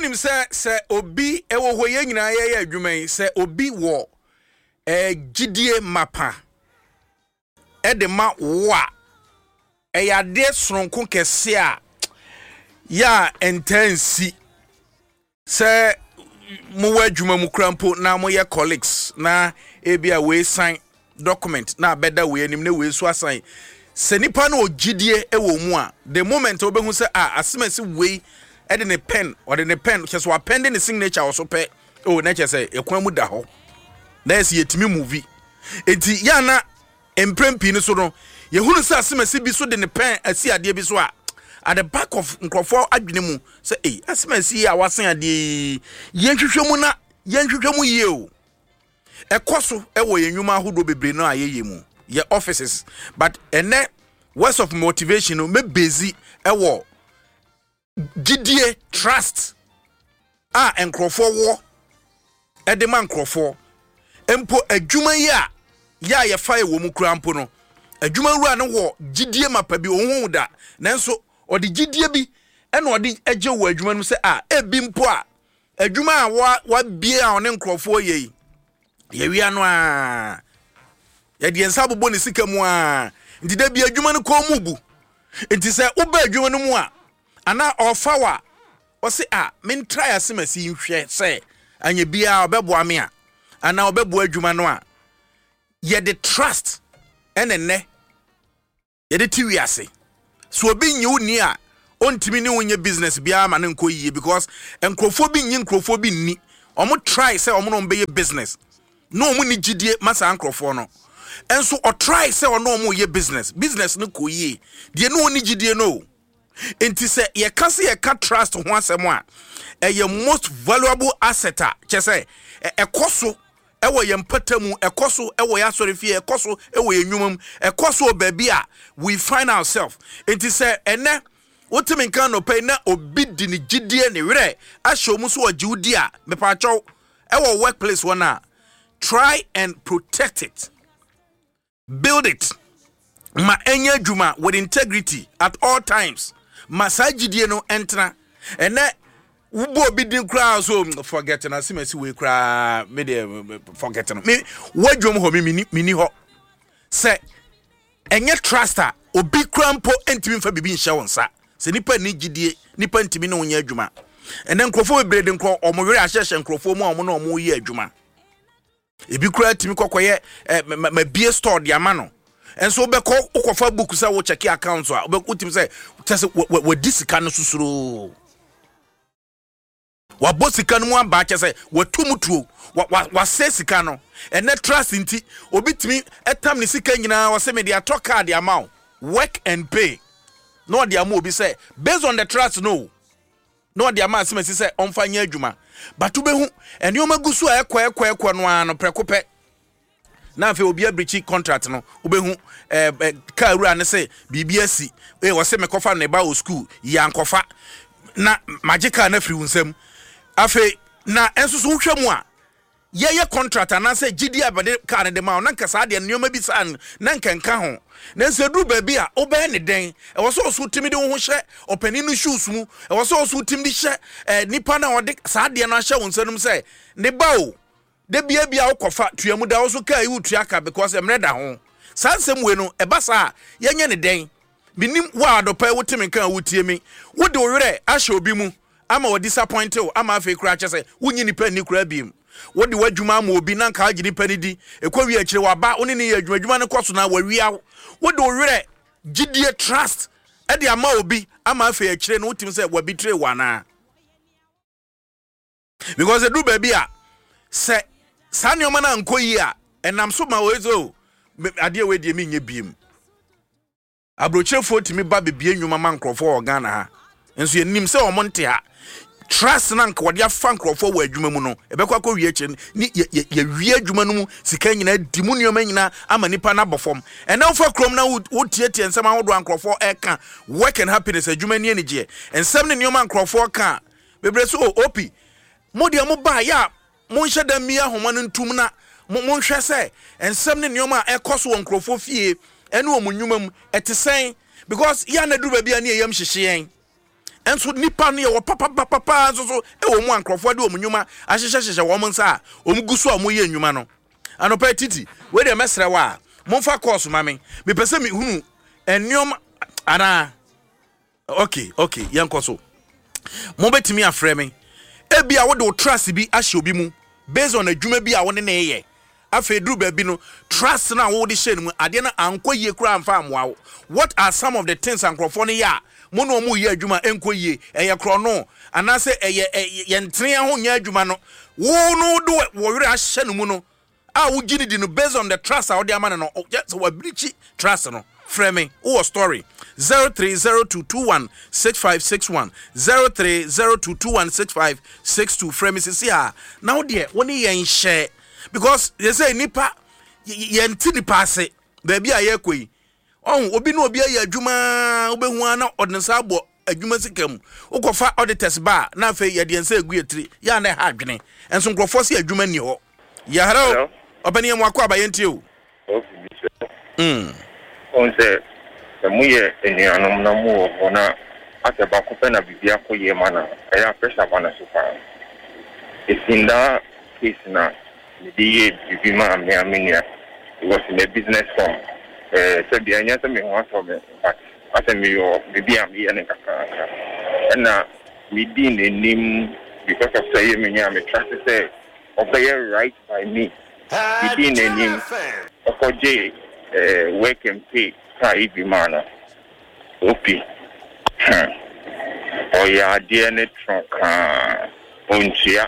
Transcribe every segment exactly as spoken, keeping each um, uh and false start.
Wonim sɛ sɛ obi ɛwɔ hɔ, yɛn nyinaa yɛyɛ adwuma yi, sɛ obi wɔ ɛɛ gyidie mapa ɛde ma wo a, ɛyɛ adeɛ soronko kɛse a yɛ a ɛntaa nsi sɛ mowɔ adwuma mu kora mpo na moyɛ colleagues, na ebi a wei sign document na abɛda wei anim na wei nso asan. Sɛ nipa no wɔ gyidie wɔ mu a, the moment wobɛhu sɛ a asemasi wei ɛde ne pen, ɔde ne pen kyɛ sɛ wapɛnde ne signature wɔ so pɛ o, na kyɛ sɛ ɛkwan mu da hɔ na yɛ sɛ yɛtumi move. Enti yɛana mprɛn pii no so no, yɛhunu sɛ asemasi bi so de ne pen asi adeɛ bi so a, at the back of nkurɔfoɔ adwene mu sɛ, ei, asemasi yi a wasen adeɛ yi, yɛnhwehwɛ mu na yɛnhwehwɛ mu yie o. Ɛkɔ so ɛwɔ yɛn nnwuma ahodoɔ bebree no a yɛyɛ mu, yɛ offices. But ɛnɛ words of motivation no mɛbezi ɛwɔ gyidie, trust a nkurɔfoɔ wɔ ɛde ma nkurɔfoɔ mpo. Adwuma yi a yɛ a yɛfa yɛ wɔ mu kura mpo no, adwuma wura no wɔ gyidie mapa bi, ɔnhu da, nanso ɔde gyidie bi ɛna ɔde agye wɔ adwuma no mu sɛ a ebi mpo a adwuma a wa wabie a ɔne nkurɔfoɔ yɛ yi, yɛwia no a, yɛde yɛn nsa abobɔ ne sika mu a, nti da bi adwuma no kɔn mu bu. Nti sɛ woba adwuma no mu a, anaa ɔfa wa ɔse a mentra asɛm asi nhwɛ sɛ anyɛ biara ɔbɛboa me a, anaa ɔbɛboa adwuma no a, yɛde trust ɛne nnɛ yɛde ti wiase. So obi nyi wo ni a, ɔntumi ne wo nyɛ business biara ma ne nkɔ yie, because nkurɔfoɔ bi nyi nkurɔfoɔ bi nni. Ɔmo try sɛ ɔmo na ɔmo bɛyɛ business na ɔmo ni gyidie ma saa nkurɔfoɔ no, nso ɔtry sɛ ɔno ɔmo yɛ business, business no kɔ yie deɛ, ne ɔni gyidie no. Nti sɛ yɛka sɛ yɛka trust ho asɛm a, ɛyɛ most valuable asset a kyɛ sɛ ɛkɔ so ɛwɔ yɛn mpata mu, ɛkɔ so ɛwɔ yɛn asɔre fie, ɛkɔ so ɛwɔ yɛn nnwuma mu, ɛkɔ so wɔ baabi a we find ourselves. Nti sɛ ɛnɛ wotumi nka nɔpɛ yi na obi di ne gyidie ne werɛ ahyɛ wɔn so ɔgye wo di a, mepaakyɛw, ɛwɔ workplace hɔ no a, try and protect it, build it, ma ɛnyɛ adwuma with integrity at all times, ma saa gyidie no ɛntena. Ɛnɛ wobɔ obi din koraa so, forget na asɛm asi wei koraa, me deɛ forget no. Me wadwom hɔ, me mini hɔ sɛ ɛnyɛ trust a, obi koraa mpo ntumi mfa biribi nhyɛ wo nsa. Sɛ nipa ni gyidie, nipa ntumi ne wo nyɛ adwuma. Ɛnɛ nkurɔfoɔ bebree de nkurɔ ɔmo werɛ ahyehyɛ nkurɔfoɔ mu a ɔmo ne ɔmo yɛ adwuma. Ebi koraa tumi kɔkɔyɛ ɛ mabie store de ama no, nso wobɛkɔ wokɔfa book sɛ wo check account a, wotumi sɛ kyɛ sɛ wadi sika no sosoroo, wabɔ sika no mu aba, kyɛ sɛ watu mu tuo, wasɛ sika no. Ɛnɛ trust nti obi tumi ɛtam ne sika nyinaa, wɔsɛ mede atɔ car de ama wo, work and pay, na ɔde ama obi sɛ based on the trust no, na ɔde ama asɛm asi sɛ ɔmfa nyɛ adwuma. But wobɛhu nneɛma gu so a ɛkɔ ɛkɔ ɛkɔ no ara no, prɛko pɛ na afei obi abirikyi contract no. Wobɛhu ɛɛ ɛ kaa wura ne sɛ biribi asi ee, wɔsɛ mekɔfa ne ba wɔ school yi, ankɔfa na magye kaa no afiri wo nsam. Afei na ɛnso so wohwɛ mu a, yɛyɛ contract anaasɛ gyidi a bɛde kaa no de ma wo, na nka saa deɛ nneɛma bi saa na nka nka ho. Nanso eduru baabi a wobɛyɛ ne dɛn? Ɛwɔ sɛ ɔso tumi de wo ho hyɛ ɔpanin no shoes mu, ɛwɔ sɛ ɔso tumi de hyɛ ɛɛ nipa na ɔde saa adeɛ no ahyɛ wo nsa no mu sɛ ne ba o, de bia bia wokɔfa tua mu da wo so kaa yi, wotua ka because mmerɛ da ho. Saa nsɛm wei no ɛba saa a, yɛnyɛ ne dɛn? Menim wo a adɔpɛ wote me nka a wotie me, wode wo werɛ ahyɛ obi mu ama wɔ disappoint wo, ama afei koraa kyɛ sɛ wonyi nipa nni koraa biem. Wode w'adwuma ama obi na nka agye nipa no di, ɛkɔ wie akyire waba wo ne ne yɛ adwuma, adwuma no kɔ so na wawia wo. Wode wo werɛ gyidie, trust, ɛde ama obi ama afei akyire no wotumi sɛ wabitire wo anaa? Because ɛduru baabi a, sɛ saa nneɛma no ankɔ yie a, ɛnam so ma wei sɛ o, adeɛ wei deɛ menyɛ biem. Aburokyerefoɔ tumi ba bebie nnwuma ma nkurɔfoɔ wɔ Ghana ha, nso yɛnim sɛ wɔn nte ha. Trust na nka wɔde afa nkurɔfoɔ wɔ adwuma mu no, ɛbɛkɔ akɔ wie akyire ne yɛwie adwuma no mu sika nyinaa di mu, nneɛma nyinaa ama nipa no abɔ fam. Ɛnɛ wofa kurom na wotietie nsɛm ahodoɔ a nkurɔfoɔ ɛka, work and happiness, adwuma ni anigyeɛ nsɛm ne nneɛma nkurɔfoɔ ka bebree so. O opi mo deɛ, mo baa yɛ a, monhyɛ da mmia ahoma no ntum na monhwɛ sɛ nsɛm ne nneɛma a ɛkɔ so wɔ nkurɔfoɔ fie ɛne wɔn nnwuma mu ɛte sɛn, because yɛ anaduru baabi a ne yɛyam hyehye yɛn. Ɛnso nipa no yɛwɔ papapapapa nso so ɛwɔ mu a nkurɔfoɔ de wɔn nnwuma ahyehyɛhyehyɛ wɔn nsa a wɔn gu so a wɔyɛ nnwuma no. Anɔpa titi wei deɛ, mɛsrɛ wɔ a momfa kɔɔso ma me. Mepɛ sɛ mehunu nneɛma anaa. okay okay yɛnkɔ so. Mobɛtumi afrɛ me. Ebi a wode wo trust bi ahyɛ obi mu based on adwuma bi a wo ne ne yɛ. Afei duru baabi no, trust no a wode hyɛ no mu, adeɛ no ankɔ yie koraa amfa ammoa wo. What are some of the things a nkurɔfoɔ no yɛ a mo ne ɔmo yɛ adwuma ɛnkɔ yie? Ɛyɛ korɔno anaasɛ ɛyɛ yɛntene ho nyɛ adwuma no, wo no wode wɔ werɛ ahyɛ no mu no a wogye ne di no based on the trust a wode ama no no sɛ wabirikyi trust no. Frɛ me, wowɔ story, zero three zero two two one six five six one, zero three zero two two one six five six two. Frɛ me sisi a na wo deɛ wo ne yɛn hyɛ, because yɛ sɛ nipa yɛnte nipa ase. Baabi a yɛrekɔ yi, ɔho obi ne obi ayɛ adwuma, wobɛhu a na ɔde ne nsa abɔ adwuma sika mu. Wokɔfa auditors ba a, na afei yɛde yɛn nsa egu yɛ tiri yɛ a na ɛha adwene. Nso nkurɔfoɔ sɛ adwuma nni hɔ. Yɛ hello, ɔpɛni, yɛn mu akɔ aba, yɛntie o. Mm. Ɔn sɛ sɛ moyɛ anuanom na mowɔ hɔ na asɛ baako pɛ na biribi akɔ yie ma no, ɛyɛ a pressure ba no so paa. Ɛsi ndaa case na mede yɛ biribi maa me a me nua because in a business form, ɛɛ sɛbi, ɛnyɛ sɛ me ho asɔ me, but asɛ meyɔ biribi a meyɛ no kakrakra, ɛna medi n'anim because of sɛ ɛyɛ me nua, me trust sɛ ɔbɛyɛ right by me. Medi n'anim ɔkɔgye ɛɛ work and pay kaa yi bi maa no. Opi hmm ɔyɛ adeɛ ne toro kaa ɔntua.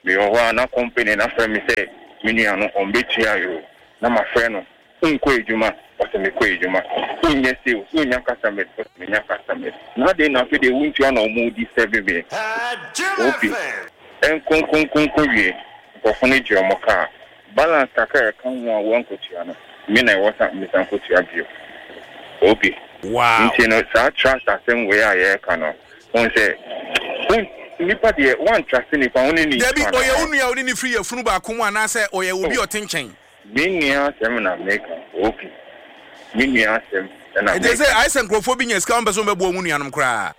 Mewɔ hɔ a na company na frɛ me sɛ me nua no ɔmbɛtua yi o, na mafrɛ no, nkɔ adwuma, ɔsɛ mekɔ adwuma, wonyɛ sales, wonya customers, ɔsɛ menya customers, na adɛn na afei deɛ wontua na ɔmo di serve me? Opi nkonkonkonko wie, nkurɔfo no gye ɔmo kaa balance kakra a ɛka ho a wɔnkɔtua no, me na ɛwɔ sa mesan kɔtua bio. Opi wow nti no, saa trust asɛm wei a yɛreka no, wɔn sɛ wɔn nipa deɛ wɔn trust nipa wɔn ne ne Dabi, ɔyɛ wo nua a wone ne firi yɛfunu baako mu anaasɛ ɔyɛ obi a ɔte nkyɛn? Me nua asɛm na meka. Opi, me nua asɛm ɛna Ɛnti sɛ meka. ayɛ sɛ nkurɔfoɔ bi nya sika, wɔmpɛ sɛ wɔbɛboa mu nuanom koraa.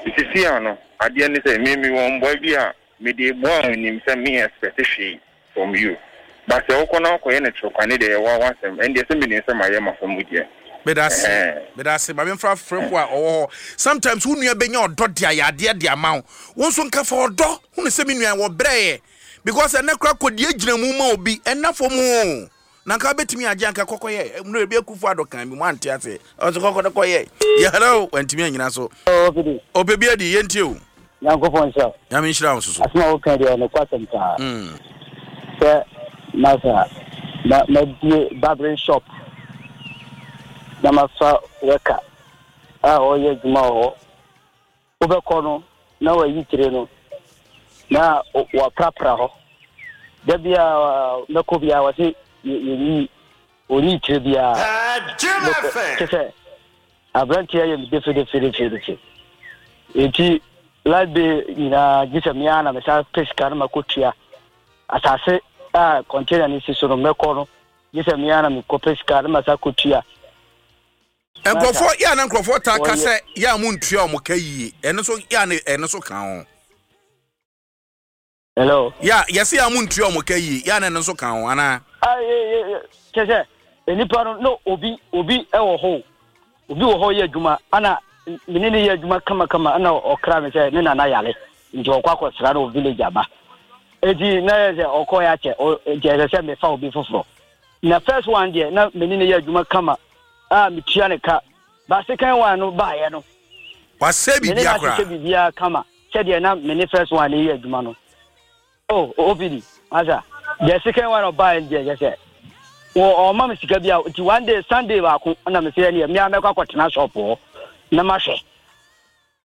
Sisi ano adeɛ ne sɛ me mi wɔ mbɔe bi a mede boa a onim sɛ me expect hwee from you, but sɛ wokɔ na wokɔyɛ ne torokwane deɛ, yɛwɔ awasɛm. Ɛndeɛ sɛ menim sɛ mayɛ mafa mu deɛ. Meda ase. Ɛhɛn. Meda ase. Ma memfa frɛfo a ɔwɔ hɔ. Sometimes wo nua bɛnya ɔdɔ de ayɛ adeɛ de ama wo. Wo nso nka fa ɔdɔ hunu sɛ me nua wɔ brɛɛ, because ɛnɛ kora kɔdeɛ gyina mu ma obi ɛna fam o, na nka wobɛtumi agye anka kɔkɔyɛ mmerɛ bi. Akufo Addo kan bi mu ante ase, ɔsɛ kɔkɔ no kɔyɛ yɛ. Hello, wantumi anyina so. Ɔfidi. Ɔpɛ bi adi, yɛntie o. Nyankopɔn nhyira wo. Nyame nhyira wo nso so. Asɛm a woka deɛ, nokwasɛm paa. Mm. Sɛ masa ma mabie barbering shop na mafa worker a ɔyɛ adwuma wɔ hɔ, wobɛkɔ no na wayi tire no na waprapra hɔ. Da bia mɛkɔ biara, wɔse yɛnyi ɔnyi tire biara. Kyɛ sɛ aberanteɛ yɛ me defedefedefedefe, nti light bill nyinaa gye sɛ mea na mesan pɛ sika no makɔtua. Asase a container no si so no, mɛkɔ no gye sɛ mea na mekɔpɛ sika no masa kɔtua. Nkurɔfoɔ yɛ a na nkurɔfoɔ taa ka sɛ yɛ a montua ɔmo ka yie, ɛno nso yɛ a na ɛno nso ka ho. Hello? Yɛ a yɛsɛ yɛ a montua ɔmo ka yie, yɛ a na ɛno nso ka ho anaa? Kyɛ sɛ nipa no na obi obi wɔ hɔ, obi wɔ hɔ yɛ adwuma, ana mene ne yɛ adwuma kamakama, ana ɔkra me sɛ ne nana yare nti ɔkɔ akɔsra no wɔ village aba. Eti na yɛ sɛ ɔkɔ yɛ akyɛ, nti ɛsɛ sɛ mefa obi foforɔ. Na first one deɛ, na mene ne yɛ adwuma kama a metua ne ka, ba second one no baayɛ no, wasɛ mene biribia no koraa. Ahyehyɛ biribiara kama sɛdeɛ na mene first one ne yɛ adwuma no. Oh, O P D, masa, the second one ɔbaayɛ deɛ, yɛ sɛ wɔ ɔma me sika bi a, nti one day, Sunday baako, na me sɛ ɛneɛ mmea mɛkɔ akɔtena shop hɔ na mahwɛ.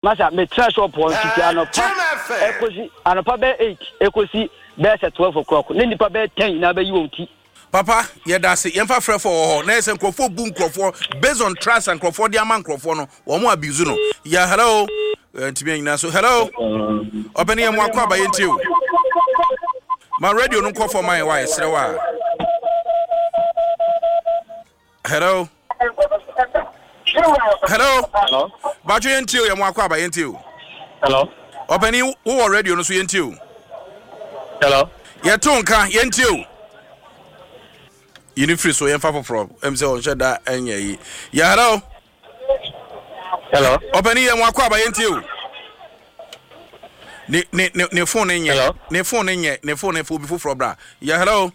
Masa, metena shop hɔ ntiti anɔpa ɛkɔsi anɔpa bɛyɛ eight ɛkɔsi bɛyɛ sɛ twelve o'clock ne nipa bɛyɛ ten nyinaa bɛyi wɔn ti. Papa, yɛda ase. Yɛmfa frɛfo wɔ hɔ na yɛ sɛ nkurɔfoɔ bu nkurɔfoɔ based on trust a nkurɔfoɔ de ama nkurɔfoɔ no, wɔn mo abuse no. Yɛ hello, ntumi anyina so. Hello, ɔpɛni, yɛ mo akɔ aba, yɛntie o. Ma radio no nkɔ fam ayɛ wa, yɛserɛ wa. Hello, hello. Hello. Baatwo, yɛntie o. Yɛ mo akɔ aba, yɛntie o. Hello. Ɔpɛni, wowɔ radio no so, yɛntie o. Hello. Yɛto nka, yɛntie o. Yini firi so, yɛmfa foforɔ. Ɛm sɛ ɔnhyɛ da ɛnyɛ yi. Yɛ, hello. Hello. Ɔpɛni, yɛ mo akɔ aba, yɛntie o. Ne ne ne ne phone ne nyɛ. Hello? Ne phone ne nyɛ, ne phone ne fo. Obi foforɔ bra. Yɛ, hello.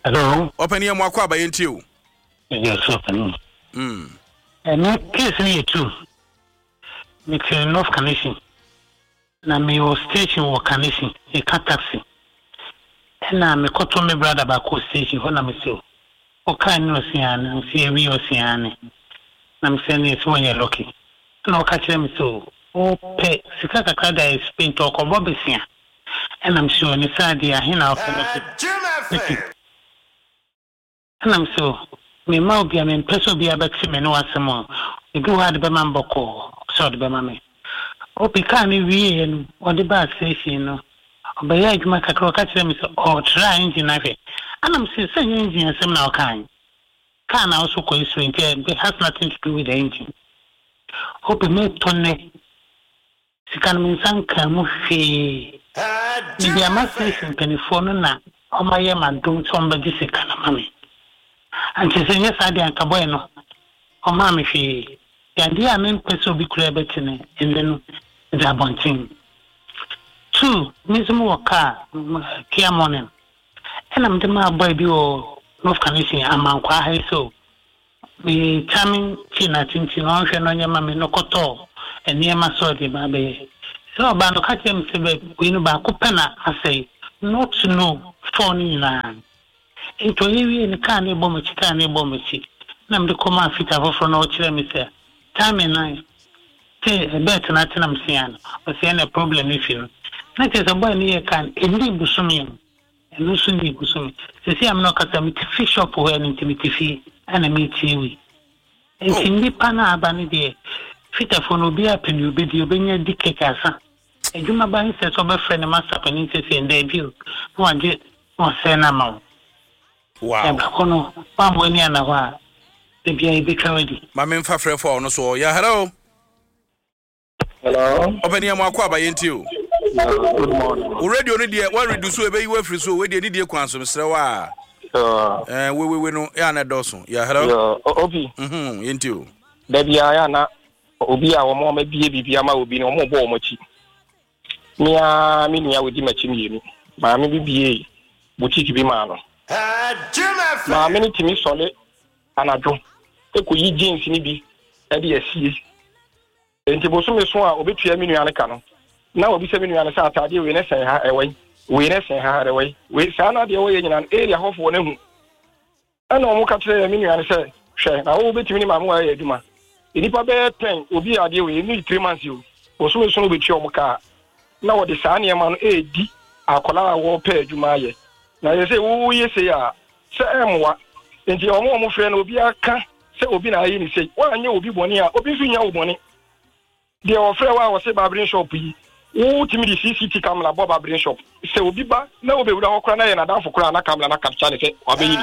Hello. Ɔpɛni, yɛ mo akɔ aba, yɛntie o. Yes, ɔpɛni. Mm. Ɛno case no yɛ two. Mete North Kaneshie. Na mewɔ station wɔ Kaneshie, yɛka taxi. Ɛna mekɔtɔ me brother baako wɔ station hɔ na mesɛ ɔkaa ne ɔsia ne ɔsi awie ɔsia ne na mesɛ ne ɛsɛ wɔnyɛ lucky. Ɛna ɔka kyerɛ me sɛ ɔpɛ sika kakra da ɛspe nti ɔkɔbɔ besia. Ɛna mesɛ ɔne saa deɛ ahe na ɔpɛ no sɛ ɛna mesɛ mema obi a mempɛ sɛ obi abɛte me ne w'asɛm a ebi wɔ hɔ a de bɛma me bɔkɔɔ sɛ ɔde bɛma me. Obi kaa no wieɛ no, ɔde baa station no, ɔbɛyɛ adwuma kakra, ɔka kyerɛ me sɛ ɔɔtra engine ahwɛ. Ɛna mesɛ sɛ nyɛ engine asɛm na ɔkae, kaa na ɔso kɔ esuro nti it has nothing to do with the engine. Obi metɔ nnɛ sika no, me nsa nkaa mu hwee. Mede ama station mpanimfoɔ no na ɔmayɛ m'adom sɛ ɔmbɛgye sika no ma me. Ankyɛ sɛ nyɛ saa deɛ anka bɔɛ no ɔmaa me hwee. Yadeɛ a mempɛ sɛ obi koraa bɛte no ɛnnɛ no de abɔnten. Two, me nso mewɔ kaa Kia Morning, ɛna mede maa boy bi wɔ North Kaneshie Amankwaa ha yi so me timing chain atenten na ɔnhwɛ no ɔnyɛ ma me no, kɔtɔɔ nneɛma sɛ ɔde ba abɛyɛ sɛ ɔbaa no, ɔka kyerɛ me sɛ bɛ wei no baako pɛ na asɛe, not to know four no nyinaa. Nti ɔyɛ wie no, kaa ne bɔ m'akyi, kaa ne bɔ m'akyi na mede kɔmaa fitter foforɔ na ɔkyerɛ me sɛ timing nan te belt na atena m sia no, ɔsɛ ɛna problem no fi no na kyerɛ sɛ boy no yɛ kaa no ɛnni bosome no, ɛno nso nni bosome. Sɛsi a me na ɔkasa, mete fi shop hɔ, ɛno nti mete fie ɛna metie wei. Nti nnipa no a aba no deɛ, fitafoɔ no, obiara pɛ ne obɛdi, obɛnya di kɛkɛ asa. Adwuma ba ne sɛ sɛ ɔbɛfrɛ ne master panin sɛ sɛ ndaabi o, na wagye na wasɛe no ama wo. Wow. Ɛbaako no woammɔ ani ana hɔ a, da biara yɛbɛtwa wadi. Ma memfa frɛfo a ɔno so ɔ. Yɛ, hello. Hello. Ɔpɛni, yɛ mo akɔ aba, yɛntie o. Good morning. Wo radio no deɛ, woaredu so, ɛbɛyi woafiri so. Wei deɛ, nidie kwan so, mesrɛ wo a Uh, Eh, wewewe no yɛ a na ɛdɔɔso. Yɛ, hello. yeah, Obi. Mhm, yɛntie o. Da biara yɛ ana obi a wɔn a wɔabie biribi ama obi no, wɔn bɔ wɔn akyi. Mmea me nua wɔdi m'akyi mmienu. Maame bi bie boutique bi maa no. Maame no tumi sɔle anadwo ekɔyi jeans no bi ɛde asie. Nti bosome so a obetua me nua no ka no, na obisa me nua no sɛ ataadeɛ wei ne sɛn ha ɛwɔ yi, wei ne sɛn ha ɛwɔ yi, wei saa na adeɛ wɔyɛ nyinaa no area hɔfoɔ no ahu. Ɛna wɔn ka kyerɛ me nua no sɛ, hwɛ na wo bɛtumi ne maame wa ayɛ adwuma nnipa bɛyɛ ten, obi yɛ adeɛ wei ne three months o, bosome so no obetua wɔn kaa na wɔde saa nneɛma no edi akwadaa a wɔrepɛ adwuma ayɛ na yɛ sɛ woyɛ sei a sɛ ɛmmoa. Nti wɔn a wɔfrɛ no, obi aka sɛ obi na ayɛ ne sei, wɔanyɛ obi bɔne a obi nso nya wo bɔne. Deɛ wɔfrɛ wo a wɔsɛ barbering shop yi, wotumi de C C T V camera bɔ barbering shop sɛ obi ba na wobɛwura hɔ koraa na yɛ n'adamfo koraa na camera na capture ne sɛ wabɛyi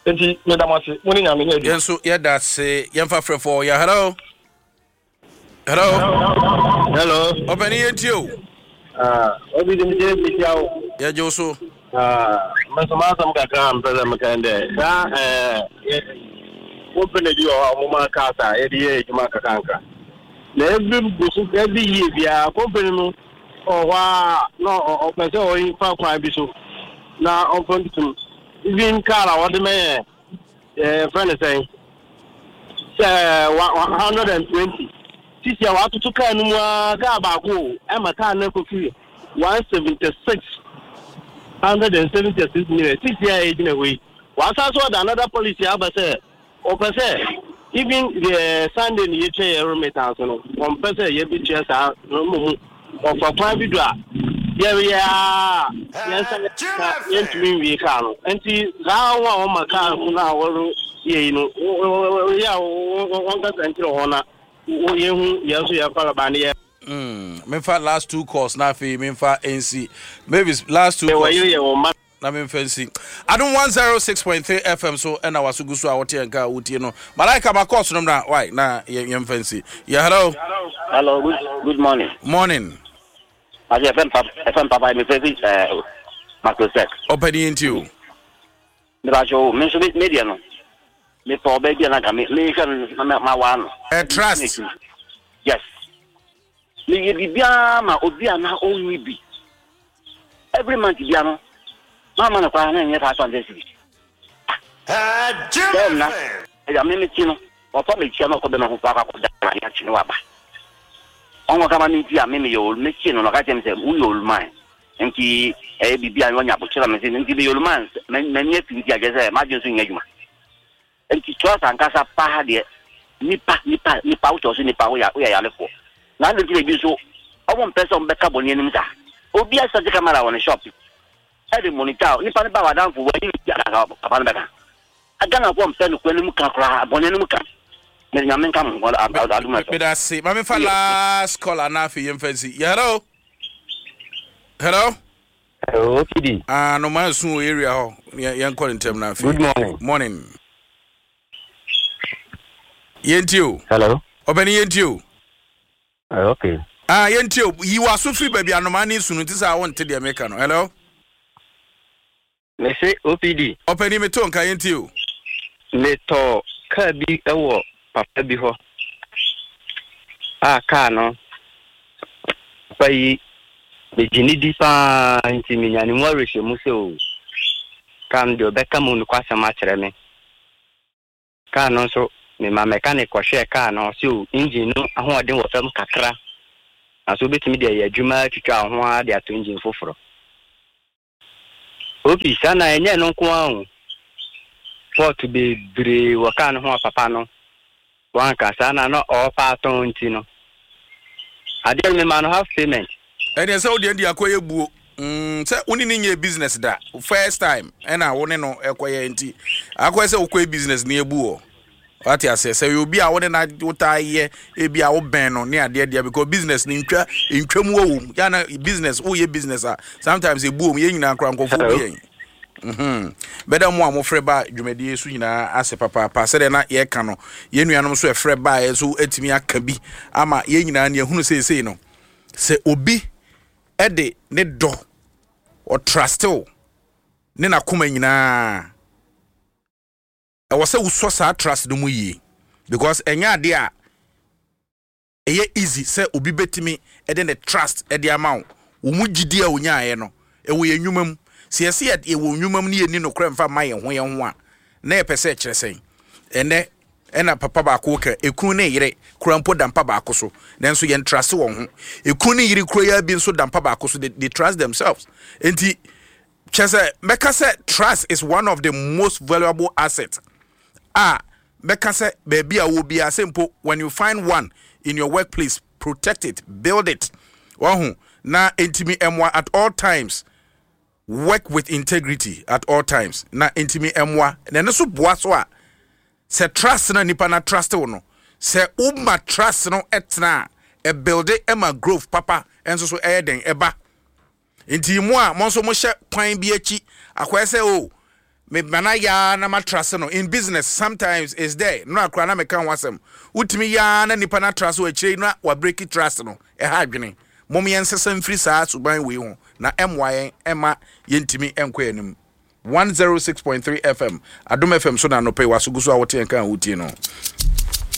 ne. Nti meda mo ase, mo ne Nyame nyɛ adwuma. Yɛn nso yɛda ase. Yɛmfa frɛfoɔ. Yɛ, hello, hello. Hello. Ɔpɛni, yɛntie o. Ah, obi de mi mekyia wo. Yɛgye wo so. Ah, me nso m'asɛm kakra a mpɛ sɛ meka dɛ saa ɛɛ company bi wɔ hɔ a wɔma cars a yɛde yɛ adwuma kakanka. Na every boso, every year biara, company no ɔwɔ hɔ a na ɔ- ɔpɛ sɛ ɔfa kwan bi so na ɔmfa ntum. Even car a wɔde mɛyɛ ɛɛ fɛn ne sɛn sɛ one hundred and twenty sisi a watoto car no mu a, car baako o, ɛma car no akɔfiri one seventy six hundred and seventy six million sisi a yɛgyina hɔ yi. Wasan so ɔda another policy aba sɛ ɔpɛ sɛ even the Sunday ni yɛtwa yɛ remittance no, ɔmpɛ sɛ yɛbɛtua saa no mmom ɔfa kwan bi do a yɛyɛ a yɛnsa yɛntumi nwie kaa no. Nti saa wɔn a wɔma kaa no a wɔreyɛ yi no, yɛ a wɔnkasa nkyerɛ wɔn na yɛhu yɛn nso yɛfa ba ne yɛ. Mm, memfa last two calls na afei memfa N C Mavis, last two calls. Wɔyere yɛ wɔn ma. na memfa nsi Adom one oh six point three F M so. Ɛna waso gu so a wote yɛn ka a wotie no. Malaika ma kɔɔso no mmra wai na yɛ- yɛmfa nsi. Yɛ, hello. Hello, good good morning. Morning. Ase F M papa, F M papa, mi fɛ fi ɛɛ Makrosek. Ɔpɛni, yɛnti o. Mi ba so mi nso mi mi deɛ no, mi fɔ ɔbɛ bi a nanka mi mi hwɛ no na ma waa no. Ɛ, trust. Yes. Mi yɛ biribiara ma obi a na ɔnyi bi. Every month bia no, maa ma no koraa na nyɛ five hundred cedis. Bẹ́ẹ̀ na ɛyà mi mi ti no, ɔfa mi kyia na ɔkɔ bɛ ma ho fa akɔ akɔda na ade akyi ne waba. Ɔnkɔ kama mi ti a mi mi yɛ olu mi kyi no na ɔka kyerɛ mi sɛ woyɛ oluman nti ɛyɛ biribi a wɔnya abokyerɛ mi sɛ nti mi yɛ oluman mɛ mi afi nti agyɛ sɛ m'adwene so nyɛ adwuma nti trust ankasa paa deɛ, nipa nipa nipa wotɔ so nipa woyɛ woyɛ yalefoɔ na adi nti na ebi nso ɔmo mpɛ sɛ ɔmo bɛka bɔ n'anim saa. Obi asɛte camera wɔ ne shop ɛde monitor nipa ne ba wadanfo wɔ ayi ne adaka papa no bɛka. Ghanafoɔ mpɛ no kura anim ka koraa, bɔne anim ka. Mɛ Nyame nka mo adum ɛsɔ. Meda ase. Ma memfa last call na afei yɛmfa nsi. Yɛ, hello, hello. Hello, O P D. Ah, no ma nsu wɔ area hɔ. Yɛ- yɛnkɔ ne ntɛm na afei. Good morning. Morning, yɛnti o. Hello. Ɔpɛni, yɛnti o. Uh, okay. Ah, yɛnti o. Yi w'aso firi baabi anomaa ne sunu nti sɛ a wonte deɛ meka no. Hello. Mese O P D. Ɔpɛni, meto nka, yɛnti o. Metɔ kaa bi wɔ papa bi hɔ. A kaa no papa yi megye ne di paa nti menya ne mu awerɛhyɛmu sɛ o kaa no deɛ ɔbɛka mu nokwasɛm akyerɛ me. Kaa no nso mema mechanic kɔhwɛɛ kaa no, ɔsɛ o engine no ahoɔden wɔ fam kakra na so wobɛtumi de ayɛ adwuma atwitwa wo ho ara de ato engine foforɔ. Opi saa na ɛnyɛ no nko ara o, fault bebree wɔ kaa no ho a papa no wanka saa na na ɔɔpa atɔn nti no adeɛ no mema no half payment. Ɛdeɛ sɛ wodeɛ de akɔyɛ buo mm, sɛ wo ne ne nyɛ business da, first time ɛna wo ne no ɛkɔyɛ nti akɔyɛ sɛ wokɔyɛ business ne ɛbu wɔ wate aseɛ sɛ yɛ obi a wo ne na wotaa yɛ ebi a wobɛn no ne adeɛ deɛ, because business ne ntwa ntwa mu wɔ wɔ mu yana business, woyɛ business a sometimes ebu wɔ mu. Yɛn nyinaa koraa nkɔfoɔ bi Hello. yɛn Mhm. bɛda mu a mofrɛ ba dwumadie so nyinaa ase papaapa. Sɛdeɛ na yɛka no, yɛn nuanom nso ɛfrɛ baeɛ nso atumi aka bi ama yɛn nyinaa ne yɛhunu seesei no sɛ obi ɛde ne dɔ ɔtrust wo ne n'akoma nyinaa, ɛwɔ sɛ wosɔ saa trust no mu yie because ɛnyɛ adeɛ a ɛyɛ easy sɛ obi bɛtumi ɛde ne trust ɛde ama wo. Wo mu gyidi a onyaeɛ no ɛwɔ yɛn nnwuma mu. Sɛ yɛsɛ yɛ yɛwɔ nnwuma mu ne yɛni nokorɛ mfa ma yɛn ho yɛn ho a, na yɛpɛ sɛ ɛkyerɛ sɛn? Ɛnɛ ɛna papa baako ka ekunu ne yere kura mpo da mpa baako so nanso yɛn trust wɔn ho. Ekunu ne yere kura yɛ bi nso da mpa baako so, they, they trust themselves. Nti kyerɛ sɛ mɛka sɛ trust is one of the most valuable assets a mɛka sɛ baabi a wɔ biara sɛ mpo when you find one in your workplace, protect it, build it. Wahu na ntumi ɛmoa at all times. Work with integrity at all times na ntumi ɛmoa na ɛno nso boa so a sɛ trust na nipa na trust wo no, sɛ woma trust no ɛtena a, ɛbuild ɛma growth papa ɛnso so ɛyɛ den ɛba. Nti mu a mo nso mohyɛ kwan bi akyi akɔyɛ sɛ o me mana yaa na ma trust no in business sometimes is there no akora na meka ho asɛm. Wotumi yaa na nipa na trust wɔ akyire na wa break trust no, ɛha adwene. Mom yɛn nsesa mfiri saa suban wei ho na ɛmmoa yɛn ɛma yɛntumi ɛnkɔ yɛn anim. one oh six point three F M, Adom F M so na anɔpɛ yi waso gu so a wote yɛn kan a wotie no.